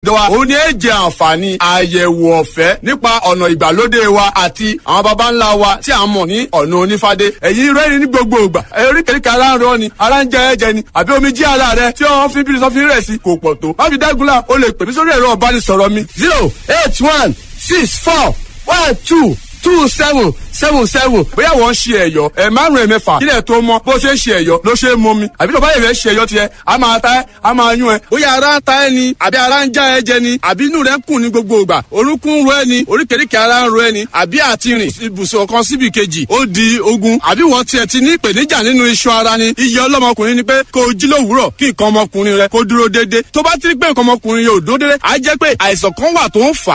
Dọ́wà òun ni ẹ jẹ àǹfààní àyẹ̀wò ọ̀fẹ́ nípa ọ̀nà ìgbàlódé wa àti àwọn baba ńlá wa tí a mọ̀ ní ọ̀nà onífádé. Ẹ̀yin rẹ́rìn ní gbogbo ìgbà. Oríkèéríkèé ara ń rọ ni, ara ń jẹ ẹ̀jẹ̀ ni, àbí omi jí ara rẹ tí wọ́n fi bí sọ́fin rẹ̀ sí kò pọ̀ tó. Má fi dágunlá, o lè pè mí sórí ẹ̀rọ ìbánisọ̀rọ̀ mi. 08164122777. Bóyá wọ́n ń ṣe ẹ̀yọ́ ẹ̀ márùn-ún, ẹ̀mẹ́fà, kílẹ̀ tó mọ́, bó ṣe ń ṣe ẹ̀yọ́ ló ṣe é mọ́ mi, àbí tó bá yẹ̀ fẹ́ ṣe ẹ̀yọ́ tiẹ̀, a máa ta ẹ́, a máa yún ẹ. Bóyá ara ń ta ẹ́ ni, àbí ara ń já ẹ jẹ ni, àbí inú rẹ ń kùn ní gbogbo ìgbà, orúnkún ń ro ẹ ni, oríkèéríkèé ara ń ro ẹ ni, àbí àti rìn ibùsùn kan síbi kejì ó di ogun, àbí wọ́n tiẹ̀ ti ní ìpèníjà nínú iṣan ara ni. Iye ọlọ́mọkùnrin ni pé kó o jí lówùúrọ̀ kí nǹkan ọmọkùnrin rẹ kó dúró déédéé. Tó bá ti rí pé nǹkan ọmọkùnrin yóò dúró déédéé, á jẹ́ pé àìsàn kan wà tó ń fà